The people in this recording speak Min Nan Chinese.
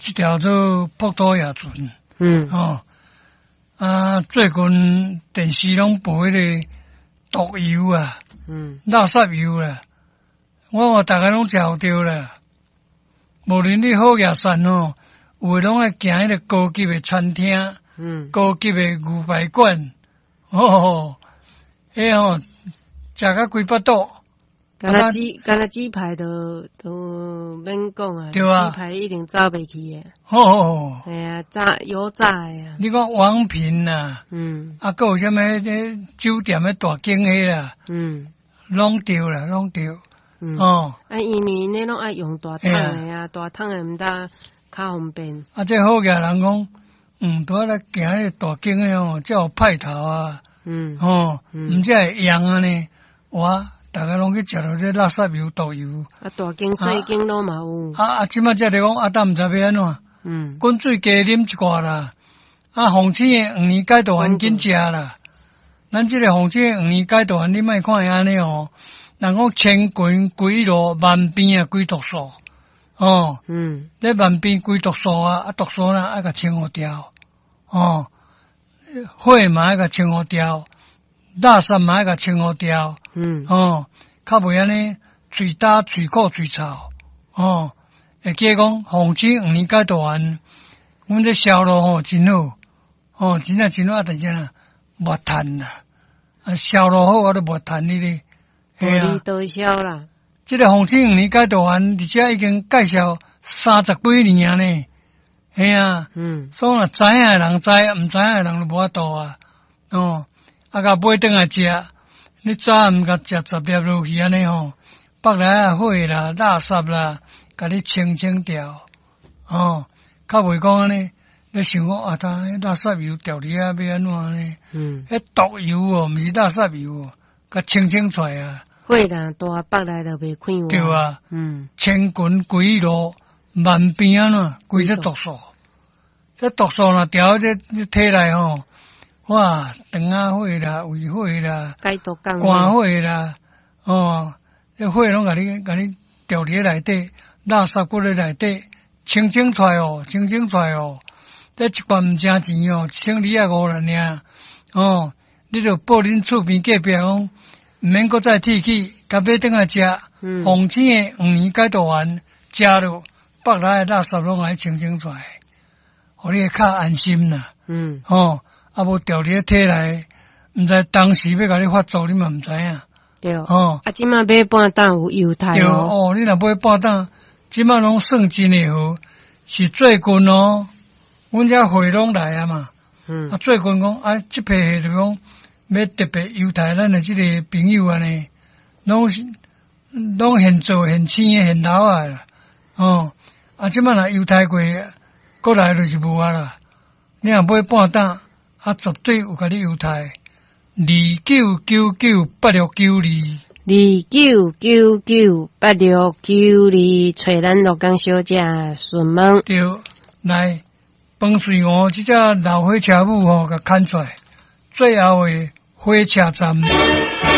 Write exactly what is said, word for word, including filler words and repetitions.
這條做葡萄牙船。嗯。哦，啊，最近電視攏播彼個毒油啊，嗯，垃圾油啦，我話逐家攏食予著啦。無論你好額善哦，有的攏愛行彼個高級的餐廳，嗯，高級的牛排館，哦，彼吼食甲規腹肚。敢若雞，敢若雞排都都免講啊，對啊，雞排一定走袂去的。哦，嘿啊，炸油炸的啊。你講王品啊，嗯，啊，閣有啥物彼酒店的大間彼啦，嗯，攏著啦，攏著。嗯，哦，啊，因為𪜶攏愛用大桶的啊，大桶的毋但較方便。啊，這好額人講，嗯，拄仔來行彼個大間的吼，才有派頭啊，嗯，吼，毋才會用按呢，哇！逐家攏去食著這垃圾油、毒油。啊，大間細間攏嘛有。啊啊，這擺才咧講，啊，當毋知欲按怎。嗯。滾水加啉一寡啦。啊，鳳青的黃連解毒丸緊食啦。咱這個鳳青的黃連解毒丸，你莫看伊按呢哦。人講千群歸路，萬變啊歸毒素。哦。嗯。你萬變歸毒素啊，啊毒素啦愛共清予掉。哦。火嘛愛共清予掉。垃圾嘛愛共清予掉。嗯。哦，較袂按呢，喙焦、喙苦、喙臭。哦，會記講鳳青黃連解毒丸，阮這銷路吼真好，哦，真正真好啊！但是啊，無趁啦，啊，銷路好我都無趁你咧。嘿啊，多銷啦。這個鳳青黃連解毒丸，佇遮已經介紹三十幾年啊呢。嘿啊，嗯，所以若知影的人知，毋知影的人就無法度啊。哦，啊，共買轉來食。你早暗共食十粒落去按呢吼，腹內仔火啦、垃圾啦，共你清清掉，哦，較袂講按呢，你想講啊，他彼垃圾油掉佇遐欲按怎呢？嗯，彼毒油哦，毋是垃圾油哦，共清清出來啊。火若大，腹內就袂快活。對啊，嗯，千群歸路，萬變按怎，規這毒素，這毒素若掉這這體內吼。哇，腸仔火啦，胃火啦，解毒肝火啦，哦，這火攏共你共你調佇內底，垃圾閣咧內底，清清出來哦，清清出來哦。這一罐毋成錢哦，一千二仔五啦爾，哦，你著報恁厝邊隔壁講，毋免閣再提起，共買轉來食，鳳青的黃連解毒丸，食落腹內的垃圾攏愛清清出來，予你會較安心啦。嗯，哦。啊，無著佇咧體內，毋知當時欲共你發作，你嘛毋知影。對，哦，啊，這馬買半擔有猶太對哦，你若買半擔，這馬攏算真的好，是最近哦，阮遮貨攏來啊嘛。嗯。啊，最近講啊，這批貨就講欲特別優待咱的這個朋友按呢，攏是攏現做現青的現老的啦。哦，啊，這馬若優待過，過來就是無啊啦。你若買半擔。啊，絕對有共你優待，二九九九八六九二，二九九九八六九二，揣咱鹿港小姐詢問。對，來，飯穗湖這隻老火車母吼，共牽出來，最後的火車站。